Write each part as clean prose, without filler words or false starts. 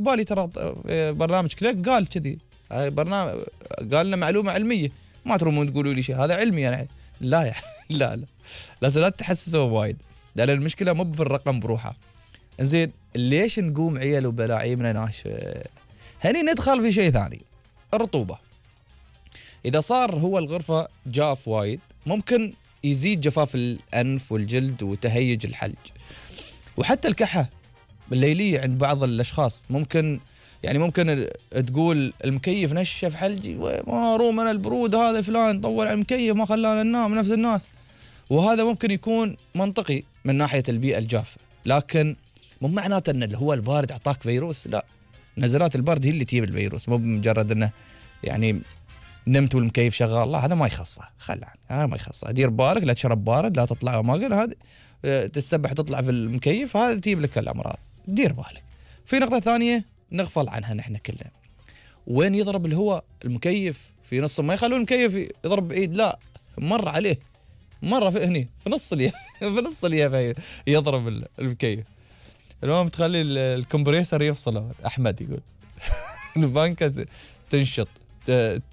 المقبالي ترى برنامج كليك قال كذي، برنامج قال لنا معلومة علمية، ما ترومون تقولوا لي شيء هذا علمي يعني. لا لا لازم لا تحسسوا وايد، لأن المشكلة مو في الرقم بروحه. زين ليش نقوم عيال وبلاعيمنا ناشفة؟ هني ندخل في شيء ثاني، الرطوبة. إذا صار هو الغرفة جاف وايد ممكن يزيد جفاف الأنف والجلد وتهيج الحلج، وحتى الكحة الليلية عند بعض الأشخاص ممكن تقول المكيف نشف حلجي، ما روم أنا البرود هذا فلان طول على المكيف ما خلانا ننام نفس الناس. وهذا ممكن يكون منطقي من ناحية البيئة الجافة، لكن مو معناته أن اللي هو البارد أعطاك فيروس، لا، نزلات البرد هي اللي تجيب الفيروس، مو بمجرد أنه يعني نمت والمكيف شغال، لا هذا ما يخصه، هذا ما يخصه. دير بالك لا تشرب بارد، لا تطلع ماقل، هذا تسبح تطلع في المكيف، هذا تجيب لك الأمراض، دير بالك. في نقطة ثانية نغفل عنها نحن كلنا، وين يضرب الهواء المكيف في نص، ما يخلون المكيف يضرب بعيد، لا، مر عليه مرة في هني في نص اليا في نص اليا يضرب المكيف. المهم تخلي الكمبريسر يفصل. أحمد يقول البانكة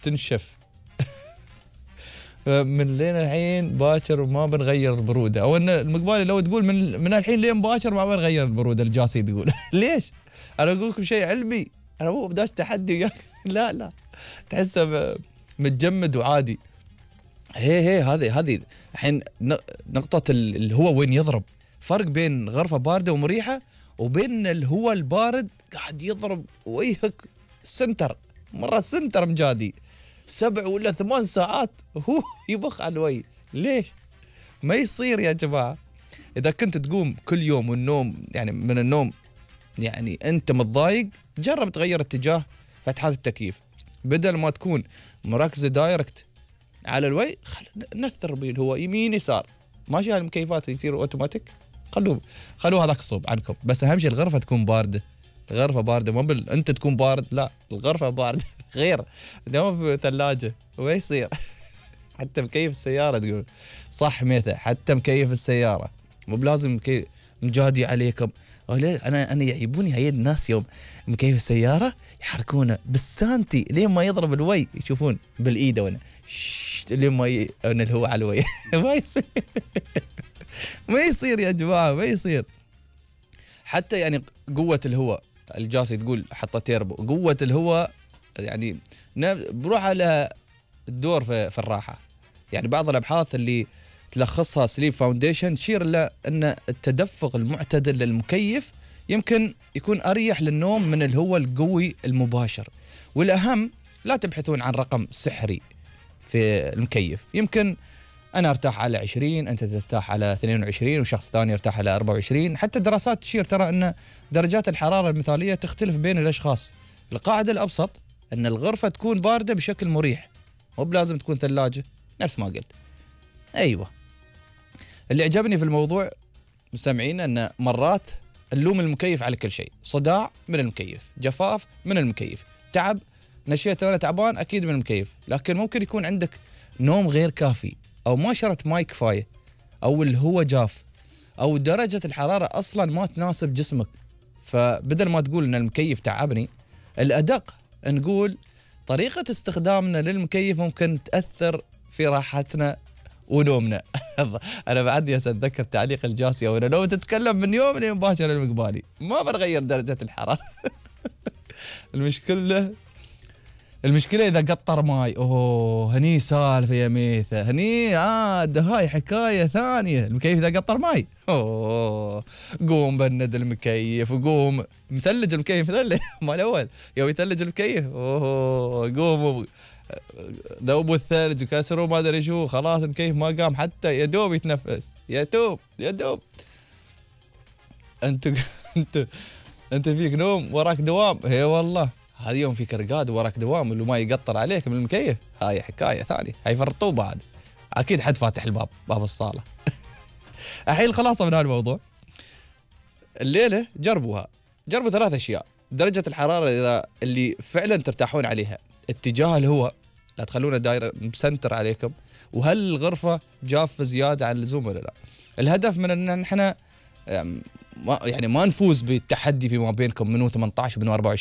تنشف من لين الحين باكر وما بنغير البرودة، أو أن المقبالي لو تقول من الحين لين باكر ما بنغير البرودة، الجاسي تقول ليش؟ أنا أقول لكم شيء علمي، أنا مو بداش تحدي لا تحسه متجمد وعادي. هي هذه الحين نقطة الهواء وين يضرب، فرق بين غرفة باردة ومريحة وبين الهواء البارد قاعد يضرب ويهك سنتر، مرة سنتر مجادي 7 ولا 8 ساعات هو يبخ على الوي. ليش؟ ما يصير يا جماعة. إذا كنت تقوم كل يوم والنوم يعني من النوم يعني أنت متضايق، جرب تغير اتجاه فتحات التكييف، بدل ما تكون مركزة دايركت على الوي نثر بيه الهواء يمين يسار. ماشي هالمكيفات يصير اوتوماتيك، خلوه هذاك الصوب عنكم، بس أهم شيء الغرفة تكون باردة. الغرفة باردة، مو أنت تكون بارد، لا الغرفة باردة غير. دوام في ثلاجة وما يصير. حتى مكيف السيارة تقول صح ميثا، حتى مكيف السيارة مو بلازم مجادي عليكم. أنا يعيبوني هاي الناس يوم مكيف السيارة يحركونه بالسانتي لين ما يضرب الوي، يشوفون بالإيد وانا لين ما الهواء على الوي. ما يصير ما يصير يا جماعة، ما يصير. حتى يعني قوة الهواء الجاسي تقول حتى تيربو، قوة الهواء يعني بروح على الدور في الراحة. يعني بعض الأبحاث اللي تلخصها سليب فاونديشن تشير إلى أن التدفق المعتدل للمكيف يمكن يكون أريح للنوم من الهواء القوي المباشر. والأهم لا تبحثون عن رقم سحري في المكيف، يمكن أنا أرتاح على 20، أنت ترتاح على 22، وشخص ثاني يرتاح على 24. حتى الدراسات تشير ترى أن درجات الحرارة المثالية تختلف بين الأشخاص. القاعدة الأبسط أن الغرفة تكون باردة بشكل مريح، مو بلازم تكون ثلاجة نفس ما قلت. أيوة، اللي عجبني في الموضوع مستمعين أن مرات نلوم المكيف على كل شيء، صداع من المكيف، جفاف من المكيف، تعب نشيت وأنا تعبان أكيد من المكيف. لكن ممكن يكون عندك نوم غير كافي، أو ما شربت ماي كفاية، أو الهواء جاف، أو درجة الحرارة أصلا ما تناسب جسمك. فبدل ما تقول أن المكيف تعبني، الأدق نقول طريقة استخدامنا للمكيف ممكن تأثر في راحتنا ونومنا. أنا بعد أتذكر تعليق الجاسي، وأنا لو تتكلم من يوم لين باكر المقبالي ما بنغير درجة الحرارة. المشكلة إذا قطر ماي، هني سالفة يا ميثة، هني هاي حكاية ثانية. المكيف إذا قطر ماي، قوم بند المكيف، وقوم مثلج المكيف، مثلج ما الأول يوم يثلج المكيف، قوم ذوبوا الثلج وكسروا ما أدري شو، خلاص المكيف ما قام حتى يدوب يتنفس، يدوب. أنت فيك نوم وراك دوام، هي والله هذا يوم فيك رقاد وراك دوام اللي ما يقطر عليك من المكيف، هاي حكاية ثانية، هاي فرطوبة عاد. أكيد حد فاتح باب الصالة. الحين الخلاصة من هالموضوع الليلة، جربوا 3 أشياء. درجة الحرارة إذا اللي فعلا ترتاحون عليها، اتجاه الهواء لا تخلونه داير مسنتر عليكم، وهل الغرفة جافة زيادة عن اللزوم ولا لا. الهدف من أن نحن يعني ما نفوز بالتحدي فيما بينكم منو 18 ومنو 24.